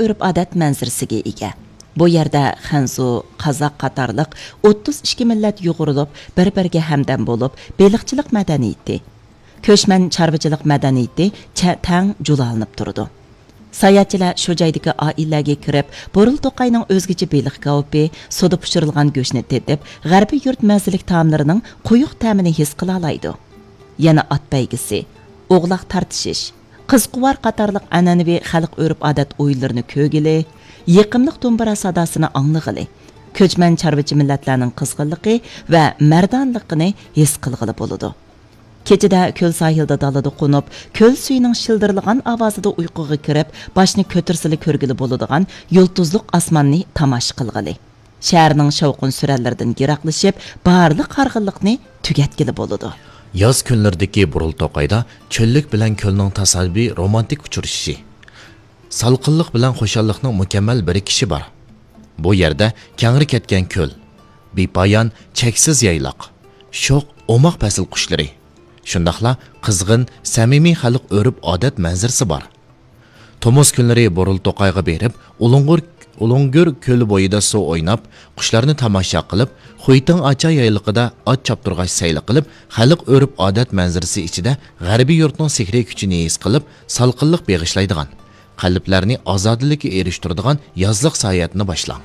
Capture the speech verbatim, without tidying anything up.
ئۆرپ-ئادەت مەنزىرىسىگە ئىگە. بۇ يەردە خەنزۇ، قازاق قاتارلىق ئوتتۇز ئىككى مىللەت يۇغۇرۇلۇپ، بىر-بىرىگە ھەمدەم بولۇپ، بېلىقچىلىق مەدەنىيىتى، كۆچمەن چارۋىچىلىق مەدەنىيىتى چە-، تەڭ جۇلالىنىپ تۇرىدۇ. ساياھەتچىلەر شۇ جايدىكى ئائىلىلەرگە كىرىپ، بۇرۇل توقاينىڭ ئۆزگىچە بېلىق كاۋىپى، سۇدا پىشۇرۇلغان گۆشنى تېتىپ، غەربىي يۇرت مەززىلىك تائاملىرىنىڭ قويۇق تەمىنى ھېس قىلالايدۇ. يەنە ئات بەيگىسى، ئوغلاق تارتىشىش، قىزقۇۋار قاتارلىق ئەنئەنىۋى خەلق ئۆرپ-ئادەت ئويۇنلىرىنى كۆرگىلى، يېقىملىق دومبىرا ساداسىنى ئاڭلىغىلى، كۆچمەن چارۋىچى مىللەتلەرنىڭ قىزغىنلىقى ۋە مەردانىلىقىنى ھېس قىلغىلى بولىدۇ. كېچىدە كۆل ساھىلدا دالىدا قونۇپ، كۆل سۈيىنىڭ شىلدىرلىغان ئاۋازىدا ئۇيقۇغا كىرىپ، باشنى كۆتۈرسىلا كۆرگىلى بولىدىغان يۇلتۇزلۇق ئاسماننى تاماشا قىلغىلى. شەھەرنىڭ شاۋقۇن-سۈرەنلىرىدىن يىراقلىشىپ، بارلىق ھارغىنلىقنى تۈگەتكىلى بولىدۇ. ياز كۈنلىرىدىكى بۇرۇل توقايدا چۆللۈك بىلەن كۆلنىڭ تاسادىپىي رومانتىك ئۇچرىشىشى، سالقىنلىق بىلەن خۇشاللىقنىڭ مۇكەممەل بىرىكىشى بار. بۇ يەردە كەڭرى كەتكەن كۆل، بىپايان، چەكسىز يايلاق، شوخ، ئوماق پەسىل قۇشلىرى، شۇنداقلا قىزغىن، سەمىمىي خەلق ئۆرپ-ئادەت مەنزىرىسى بار. تومۇز كۈنلىرى بۇرۇل توقايغا بېرىپ، ئۇلۇڭغۇر-، ئۇلۇڭگۈر كۆلى بويىدا سۇ ئويناپ، قۇشلارنى تاماشا قىلىپ، خۇيتىڭ ئاچا يايلىقىدا ئات چاپتۇرغاچ سەيلە قىلىپ، خەلق ئۆرپ-ئادەت مەنزىرىسى ئىچىدە غەربىي يۇرتنىڭ سېھرىي كۈچىنى ھېس قىلىپ، سالقىنلىق بېغىشلايدىغان، قەلبلەرنى ئازادىلىككە ئېرىشتۈرىدىغان يازلىق ساياھەتنى باشلاڭ.